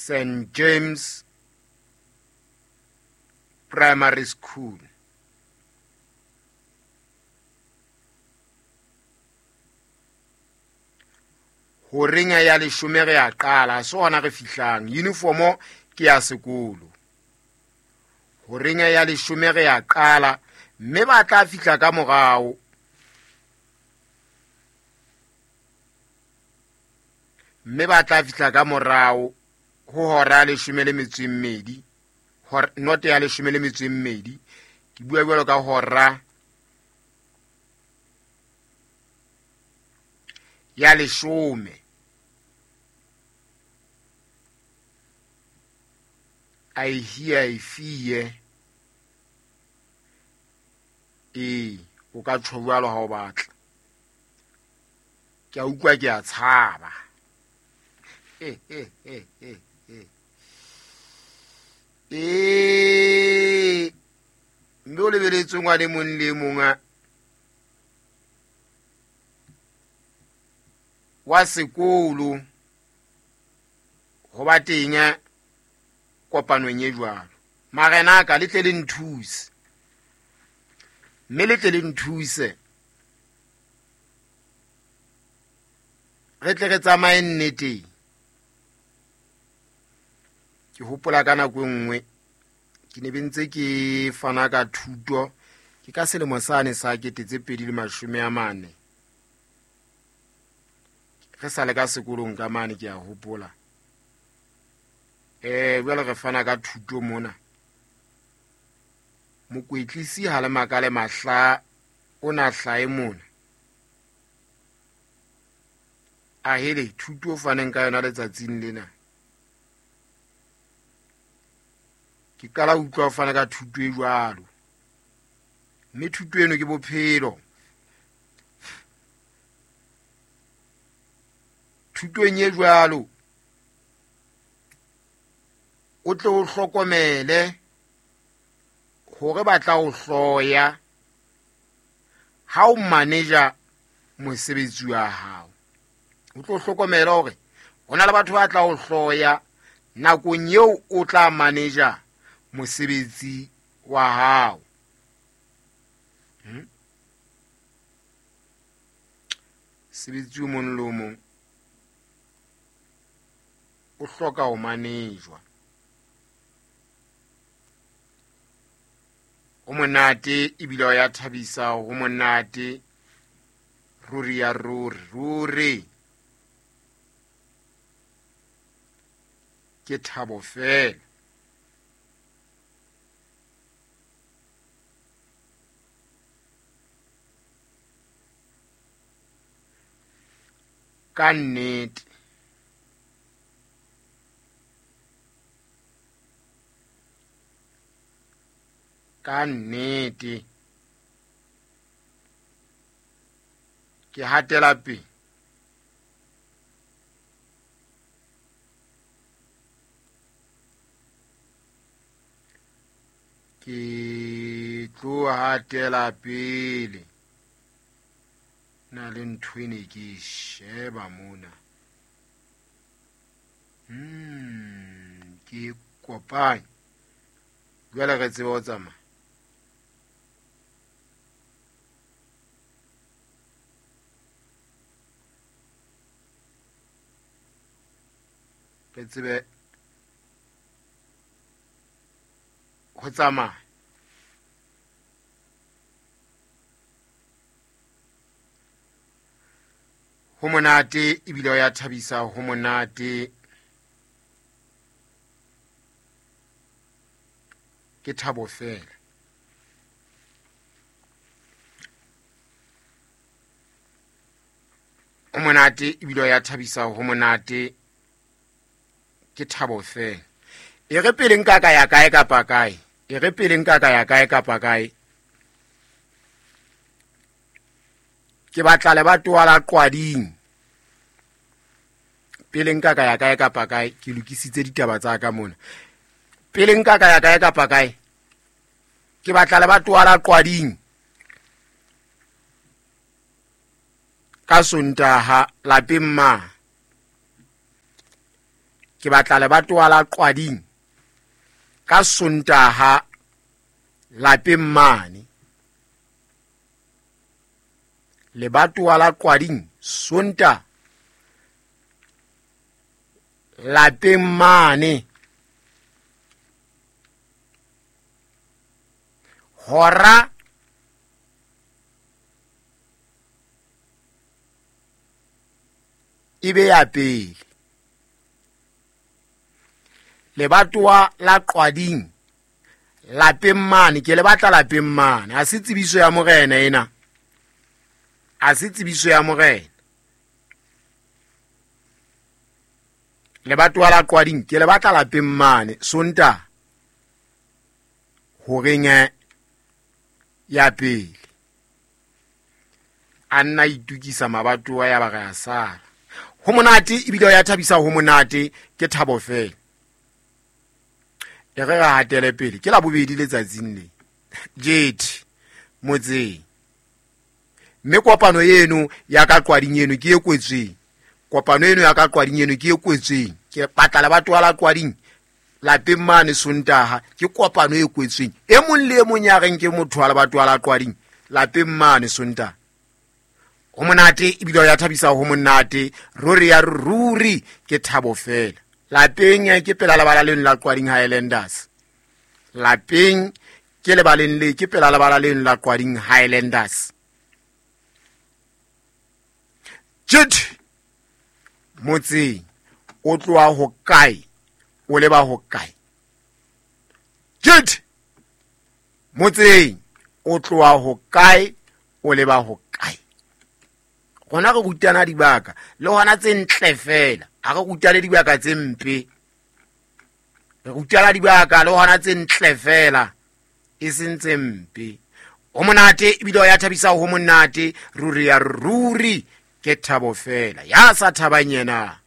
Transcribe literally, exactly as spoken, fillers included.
Saint James Primary School. Horeng ya leshome re a qala, so hona re fihlang. Uniformo ke ya sekolo. Horeng ya leshome re a qala, mme ba tla fihla ka morao. Mme ba tla fihla ka morao ho hora ya leshome le metso e mmedi, noto ya leshome le metso e mmedi. Ke bua jwalo ka hora ya leshome. I hear, I fear. Ee, o ka tjho jwalo ha o batla. Ke a utlwa, ke a tshaba. Eh, eh, eh, eh, eh. Eh, mme o lebeletse ngwana e mong le e mong a wa sekolo ho ba teng kopanong e jwalo. Marena a ka, le tle le nthuse. Mme le tle le nthuse. Re tle re tsamaye nneteng. Ke hopola ka nako e nngwe ke ne be ntse ke fana ka thuto, ke ka selemo sane sa kete tse pedi le mashome a mane. Re sa le ka sekolong ka mane, ke a hopola. Eh, jwale re fana ka thuto mona. Mokwetlisi ha le makale mahla o na hlae mona. A hele thuto o faneng ka yona letsatsing lena. Ke qala ho utlwa ho fana ka thuto e jwalo. Mme thuto eno ke bophelo. Thutong e jwalo o tle o hlokomele hore ba tla o hloya ha o manager mosebetsi wa hao. O tlo hlokomela hore ho na le batho ba tla o hloya nakong eo o tla manager mosebetsi wa hao. Hmm? Sebetsi o mong le o mong o hloka ho manejwa. Ho monate ebile o ya thabisa, ho monate ruri ya ruri, ruri. Ke thabo fela. Ka nnete. Ka nnete. Ke hatela pele. Ke tlo hatela pele. Na le ntho ene ke e sheba mona. Hmm, ke kopanye. Jwale re tsebe ho tsamaya. Re tsebe ho tsamaya. Ho monate ebile o ya thabisa, ho monate. Ke thabo fela. Ho monate ebile o ya thabisa, ho monate. Ke thabo fela. E re pele nka ka ya kae kapa kae. E re pele nka ka ya kae kapa kae. Ke batla lebatowa la Qwading. Pele nka ka ya kae kapa kae, ke lokisitse ditaba tsa ka mona. Pele nka ka ya kae kapa kae, ke batla lebatowa la Qwading. Ka Sontaha lapeng ma. Ke batla lebatowa la Qwading ka Sontaha lapeng mane. Lebatowa la Qwading Sontaha lapeng mane. Hora e be ya pele. Lebatowa la Qwading lapeng mane, ke le batla lapeng mane. Ha se tsebiso ya morena ena, ha se tsebiso ya morena. Lebatowa la Qwading ke le batla lapeng mane Sontaha horeng ya pele. A nna itukisa mabatowa ya ba re a sala. Ho monate ebile ya thabisa, ho monate ke thabo fela. E re re hatele pele, ke la bobedi letsatsing le Jet motseng. Mme kopano eno ya ka Qwading eno ke e kwetsweng. Kopano eno ya ka Qwading eno ke e kwetsweng. Ke batla lebatowa la Qwading lapeng mane Sontaha, ke kopano e kwetsweng. E mong le e mong ya reng ke motho wa lebatowa la Qwading lapeng mane Sontaha. Ho monate ebile ya thabisa, ho monate ruri ya ruri ke thabo fela. Lapeng ke pela lebala leno la Qwading Highlanders. Lapeng ke lebaleng le ke pela lebala leno la Qwading Highlanders. Jet motseng o tloha ho kae o leba ho kae? Jet motseng o tloha ho kae o leba ho kae? Rona re rutana dibaka le hona tse ntle fela, ha re rutane dibaka tse mpe. Re rutana dibaka le hona tse ntle fela, e seng tse mpe. Ho monate ebile ya thabisa, ho monate ruri ya ruri ke thabo fela. Ya sa thabang yena